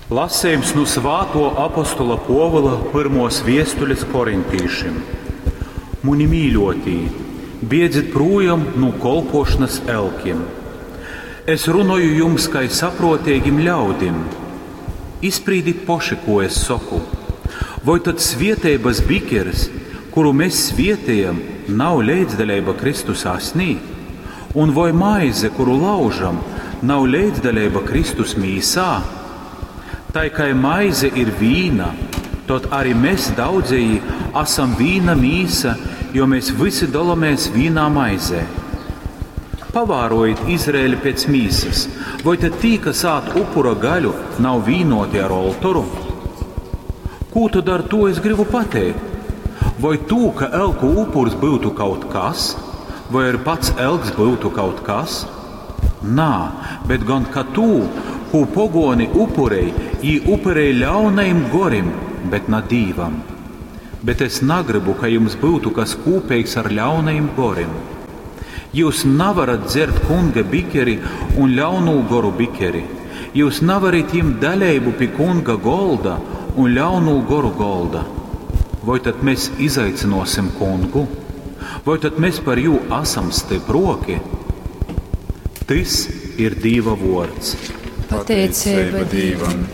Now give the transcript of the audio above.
Lasejums nu Svātuo apostola Puovula pyrmuos viestulis korintīšim. Muni mīļuotī, biedzit prūjom nu kolpuošonys elkim. Es runoju jums kai sapruoteigim ļaudim. Izsprīdit poši, kū es soku. Voi tod svieteibys bikeris, kuru mes svietejam, nav leidzdaleiba Kristus asnī? Un voi maize, kuru laužam, nav leidzdaleiba Kristus mīsā? Tai kai maize ir vīna, tod ari mes daudzejī asam vīna mīsa, jo mēs vysi dolomēs vīnā maizē. Pavārojit Izraeli pēc mīsas, voi tad tī, kas ād upura gaļu, nav vīnoti ar oltoru? Kū tad ar tū es gribu pateikt? Voi tū, ka elku upurs byutu kaut kas, voi arī pats elks byutu kaut kas? Nā, bet gon ka tū, kū poguoni upurej, jī upurej ļaunajim gorim, bet na Dīvam. Bet es nagrybu, ka jums byutu kas kūpeigs ar ļaunajim gorim. Jius navarat dzert Kunga bikeri un ļaunū goru bikeri. Jius navarit jimt daleibu pi Kunga golda un ļaunū goru golda. Voi tad mes izaicynuosim Kungu? Voi tad mes par jū asam stypruoki? Tys ir Dīva vuords. Pateiceiba Dīvam.